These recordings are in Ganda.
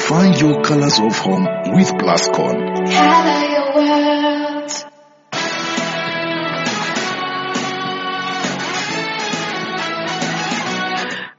Find your colors of home with Plascon. Color your world.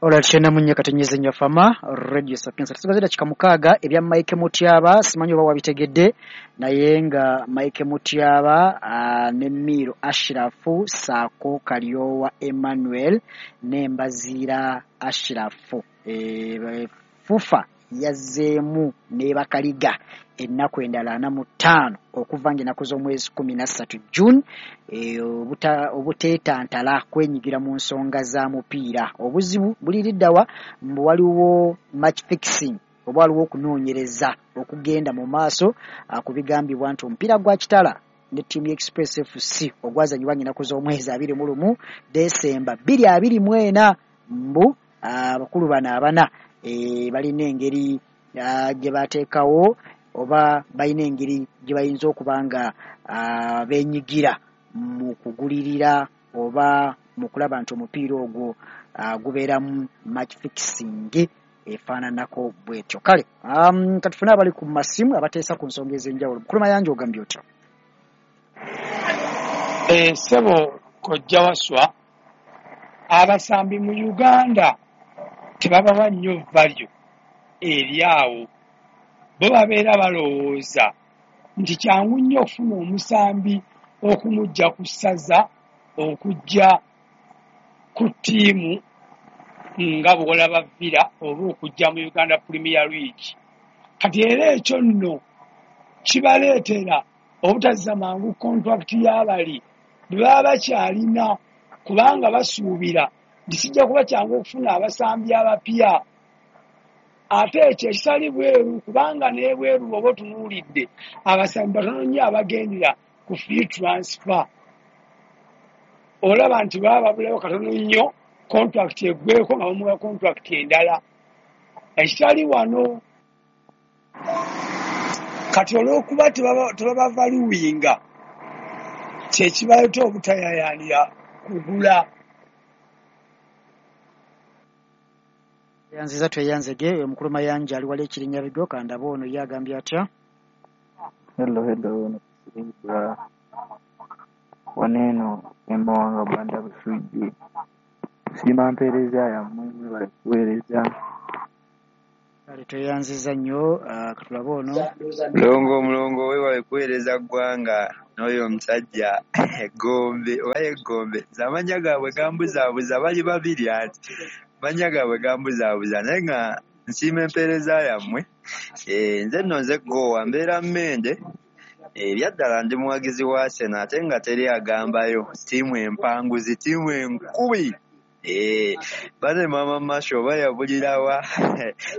Olwa 94.5 Fama Radio Sapienza. Tusigaze dakika 6 ebya Mike Mutyaba, simanyi oba wabitegedde, naye nga Mike Mutyaba ne Miro Ashirafu Sako Kalyowa Emmanuel ne Mbaziira Ashirafu FUFA yazzeemu n'ebakaliga ennaku endala 45 okuva ng'ennaku z'omwezi 13 June obuteetantala kwenyigira mu nsonga za mupiira. Obuzibu buliriddawa mbu waliwo match fixing oba waliwo okunoonyereza okugenda mu maaso ku bigambibwa nti omupiira gwa Kitala ne ttiimu ya Express FC ogwazanyibwa ng'ennaku z'omwezi 21 Desemba 2024 mbu abakulu bano abana balina engeri gye bateekawo oba balina engeri gye bayinza okuba nga beenyigira mu kugulirira oba mu kulaba nti omupiira ogwo gubeeramu match fixing efaananako bwetyo. Kale katufune abali ku masimu abateesa ku nsonga ez'enjawulo. Mukulu Mayanja, ogambye otya? Ssebo Kojja Waswa, abasambi mu Uganda tebabawa nnyo value eri awo. Bo babeera balowooza nti kyangu nnyo okufuna omusambi okumujja ku ssaza okujja ku ttiimu nga bw'olaba Villa oba okujja mu Uganda Premier League. Kati era ekyo nno kibaleetera obutazza mangu contract y'abali bwe baba bakyalina, kubanga basuubira nti kijja kuba kyangu okufuna abasambi abapya. Ate ekyo ekitali bweru, kubanga n'ebweru bw'oba otunuulidde abasambi batono nnyo abagendera ku free transfer. Olaba nti baba babulayo katono nnyo contract eggweko nga bamuwa contract endala. Ekitali wano kati olw'okuba tebabavaluwinga kye kibaleeta obutayayaanira kugula. Yanziza tweyanzege Mukulu Mayanja ali wali Ekirinyabigo. Kandaba ono ye agambye atya? Hello, hello, wano eno Emawanga Banda Busujju. Nsiima mpeereza yammwe, mwebale kuweereza. Kale tweyanziza nnyo. Katulabe ono. Mulongo, mulongo, weewale kuweereza ggwanga n'oyo omusajja Gombe oba ye Gombe. Nze amannya gaabwe gambuzaabuza, bali babiri anti amannya gaabwe gambuzaabuza, naye nga nsiima empeereza yammwe. Nze nno nze Gowa, mbeera Mmende. Ebyaddala ndi muwagizi wa Arsenal ate nga teri agambayo, ttiimu empanguzi, ttiimu enkubi. Bane Mama Masho oba yabulirawa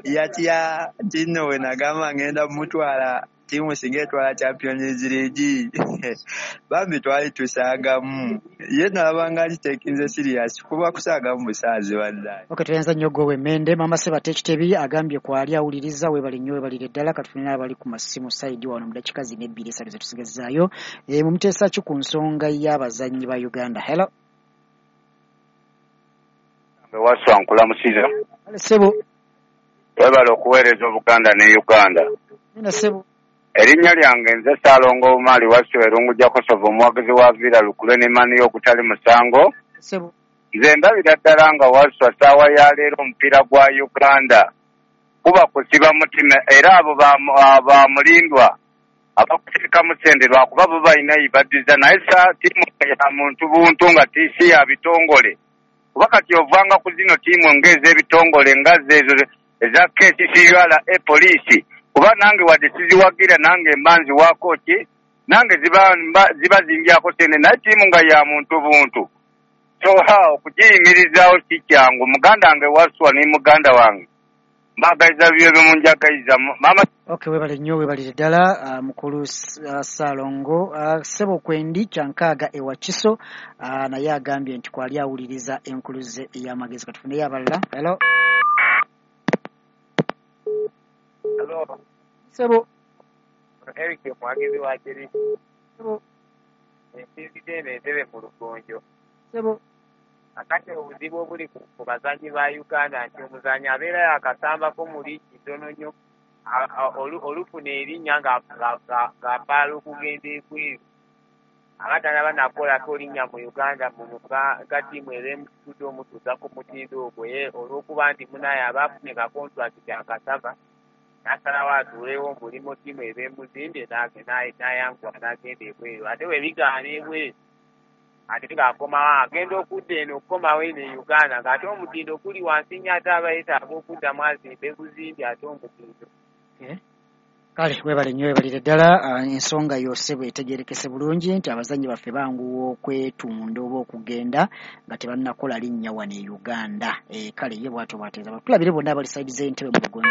yatya nti nno we nagamba ngenda mutwala ttiimu singa etwala Champions League. Bambi twali tusaagamu, ye nalabanga agiteekinze serious kuba kusaagamu busaazi bannaye. Okay, tweyanza nnyo Gowe Mmende. Mama Sebate Ekitebi agambye kwali awuliriza, weebale nnyo, weebalire ddala. Katufune n'abali ku masimu sayidi wano mu dakiika zino 2 3 zetusigazaayo. Mumuteesa ki ku nsonga y'abazannyi ba Uganda? Hello. Waswa, nkulamusiza. Kale ssebo. Weebale okuweereza Obuganda ne Uganda. Nina ssebo. Erinnya lyange nze Ssaalongo Omali Waswa Erungu Jakosovo, omuwagizi wa Villa Lukule ne Mani ogutali musango. Ssebo. Nze ndabira ddala nga Waswa ssaawa ya leero omupiira gwa Uganda kuba kusiba mutima, era abo bamulindwa abakuteekamu ssente lwakuba bo balina ibaddiza, naye ttiimu ya muntu buntu nga si ya bitongole. Kuba kati ovanga ku zino ttiimu ng'ez'ebitongole nga ezo eza KCCURA poliisi, kuba nange wadde siziwagira nange mba nziwaako ki, nange ziba zingyako ssente, naye ttiimu nga ya muntu buntu. So okugiyimirizaawo si kyangu. Muganda wange Waswa ne muganda wange mbagaliza byo munjagaliza mama. Okay, webale nnyo, webalire ddala mukulu Ssaalongo. Ssebo Kwendi Kyankaaga ewa Kiso naye agambye nti kwali awuliriza enkuluze ey'amagezi. Katufuneyo abalala. Hello. Hello. Ssebo. Eric omuwagizi wa Chelsea. Ssebo. Ensinzidde eno entebe mu lugonjo. Ssebo. Akati obuzibu obuli ku bazannyi ba Uganda nti omuzannyi abeera yakasambako mu liigi ntono nnyo, Olufuna erinnya ng'apaala okugenda ebweru aba tanaba nakolako linnya mu Uganda muno nga ttiimu eba emusitudde omutuusa ku mutindo ogwo ye olw'okuba nti munaye aba afunye ka kontulakiti akasava n'asalawo atuulewo omulimu ttiimu eba emuzimbye n'ayanguwa n'agenda ebweru ate bwe bigaana ebweru ate ng'akomawo agenda okudda eno okukomawo eno e Uganda ng'ate omutindo guli wansi nnyo ate aba yeetaaga okuddamu azimbe buzimbi ate omutindo. Kale webale nnyo webalire ddala ensonga yose bwetegerekese bulungi nti abazannyi baffe banguwa okwetunda oba okugenda nga tebannakola linnya wano e Uganda. Kale ye bw'atyo bw'ateeza. Tulabire bonna abali sayidi z'entebe mu lugonjo.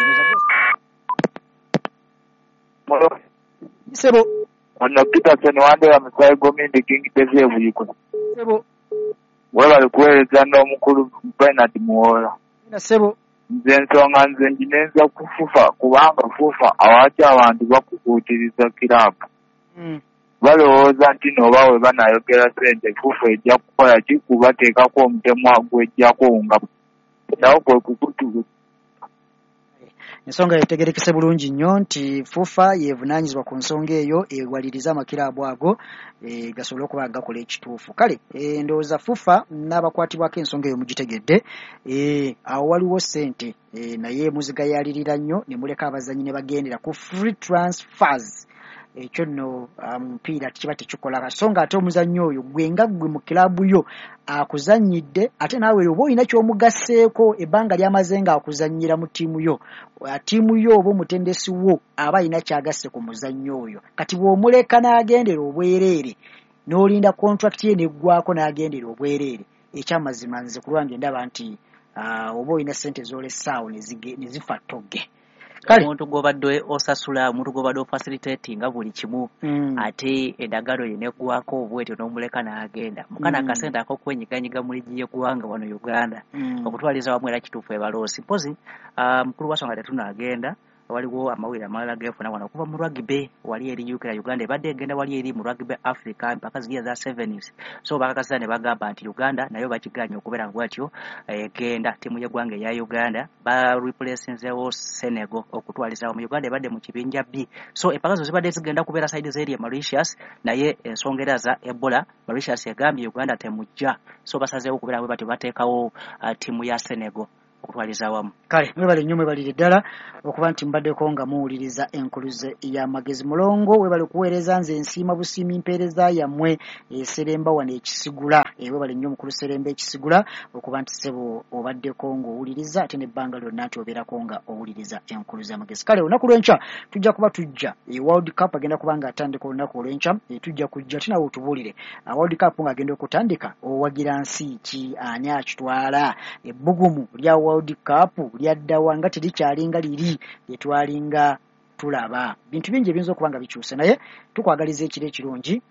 Sebo. Ono Peterson Wandera Musaayi gw'Omuyindi King Tv e Buikwe. Sebo. Webale kuweereza n'omukulu Bernard Muwoola. Sebo. Nze ensonga nze nginenza ku FUFA kubanga FUFA awaki abantu bakukuutiriza kiraabu. Balowooza nti n'oba we banaayogera ssente FUFA ejja kukola ki kubateekako omutemwa gw'ejjako nga nawo kwe kukutukuta. Ensonga yetegerekese bulungi nnyo nti FUFA yeevunaanyizibwa ku nsonga eyo ewaliriza amakiraabu ago gasobole okuba nga gakola ekituufu. Kale ndowooza FUFA n'abakwatibwako ensonga eyo mugitegedde. Awo waliwo ssente naye muzigayaalirira nnyo ne muleka abazannyi ne bagendera ku free transfers. Ekyo nno mupiira kiba tekikola so nga ate omuzannyi oyo gwe nga ggwe mu kiraabu yo akuzannyidde ate naawe oba olina ky'omugasseeko ebbanga ly'amaze ng'akuzannyira mu ttiimu yo, ttiimu yo oba omutendesi wo aba alina ky'agasse ku muzannyi oyo. Kati bw'omuleka n'agendera obwereere n'olinda contract ye n'eggwako n'agendera obwereere, ekyamazima nze ku lwange ndaba nti oba olina ssente z'olessaawo ne zifa ttogge. Omuntu gw'obadde osasula, omuntu gw'obadde ofacilitatinga buli kimu ate endagaano ye neggwako bwetyo n'omuleka n'agenda. Mukana akasente ak'okwenyiganyiga mu liigi y'eggwanga wano Uganda okutwaliza wamu era kituufu ebaloosi. Mpozi mukulu wa nsonga tetunaagenda waliwo amawulire amalala geefuna wano okuva mu rugby wali eri UK Uganda ebadde egenda wali eri mu rugby Africa mpaka ziri eza sevens so bakakasa ne bagamba nti Uganda nayo bakiganye okubeera bwatyo egenda ttiimu y'eggwanga eya Uganda ba replacinzeewo Senegal okutwaliza mu Uganda ebadde mu kibinja B so empaka zo zibadde zigenda kubeera side z'eri e Mauritius naye ensonga era za Ebola Mauritius egambye Uganda temujja so basazeewo okubeera bwe batyo bateekawo ttiimu ya Senegal okutwaliza wamu. Kale mwebale nnyo mwebalire ddala okuba nti mbaddeko nga muwuliriza enkuluze y'amagezi. Mulongo webale kuweereza nze nsiima busiimi mpeereza yammwe eseremba wano ekisigula. Webale nnyo mukulu Seremba ekisigula okuba nti ssebo obaddeko ng'owuliriza ate n'ebbanga lyonna nti obeerako nga owuliriza enkuluze y'amagezi. Kale olunaku lw'enkya tujja kuba tujja World Cup agenda kuba nga atandika olunaku olw'enkya tujja kujja ate nawe otubuulire World Cup ng'agenda okutandika owagira nsi ki, ani akitwala, ebbugumu lya World Cup lyaddawa nga terikyalinga liri lye twalinga tulaba. Bintu bingi ebiyinza okuba nga bikyuse naye tukwagaliza ekiro ekirungi,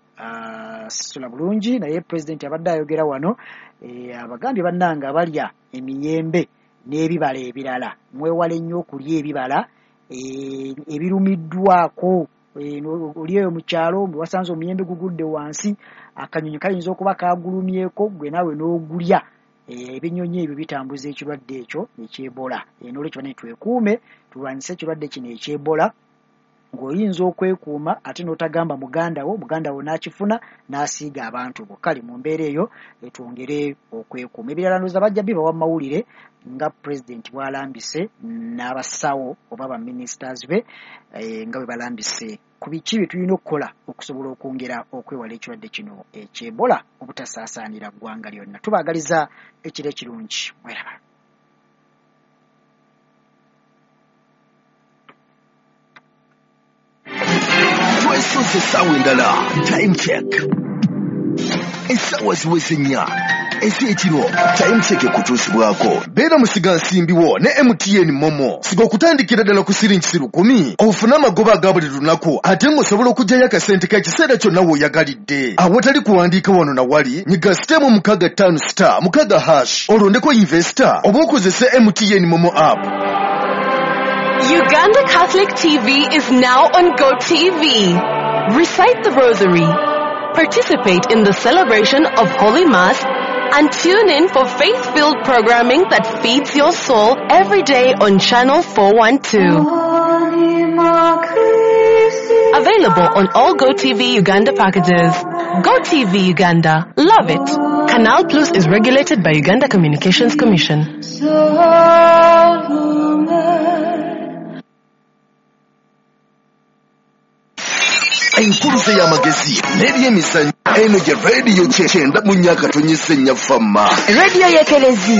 sula bulungi. Naye pulezidenti abadde ayogera wano abagambye bannange abalya emiyembe n'ebibala ebirala mwewale nnyo okulya ebibala ebirumiddwako. Oli eyo mu kyalo wasanze omuyembe gugudde wansi akanyonyi kayinza okuba kagulumyeko gwe naawe n'ogulya. Ebinyonyi ebyo bitambuza ekirwadde ekyo eky'Ebola. Noolwekyo bane twekuume tulwanyise ekirwadde kino eky'Ebola ng'oyinza okwekuuma ate n'otagamba muganda wo n'akifuna n'asiiga abantu bo. Kale mu mbeera eyo twongere okwekuuma. Ebirala ndowooza bajja bibawa mu mawulire nga pulezidenti bw'alambise n'abasawo oba baministers be nga bwe balambise ku biki bye tulina okukola okusobola okwongera okwewala ekirwadde kino eky'Ebola obutasaasaanira ggwanga lyonna. Tubaagaliza ekiro ekirungi. Mweraba. Twesoze essaawa endala time check essaawa ziweze nnya ez'ekiro time check ekutuusibwako beera musigansimbi wo ne MTN Momo siga okutandikira ddala ku siringi 1,000 ofune amagoba aga buli lunaku ate ng'osobola okuggyayo akasente k'ekiseera kyonna w'oyagalidde awatali kuwandiika wano na wali nyiga sitemu 656 hash olondeko investor oba okozese MTN Momo app. Uganda Catholic TV is now on GoTV. Recite the Rosary, participate in the celebration of Holy Mass, and tune in for faith-filled programming that feeds your soul every day on Channel 412. Available on all GoTV Uganda packages. GoTV Uganda. Love it. Canal Plus is regulated by Uganda Communications Commission. Enkuluze y'amagezi n'ebyemizannyo eno gye rediyo 94.4 Fama. Rediyo y'Ekelezia.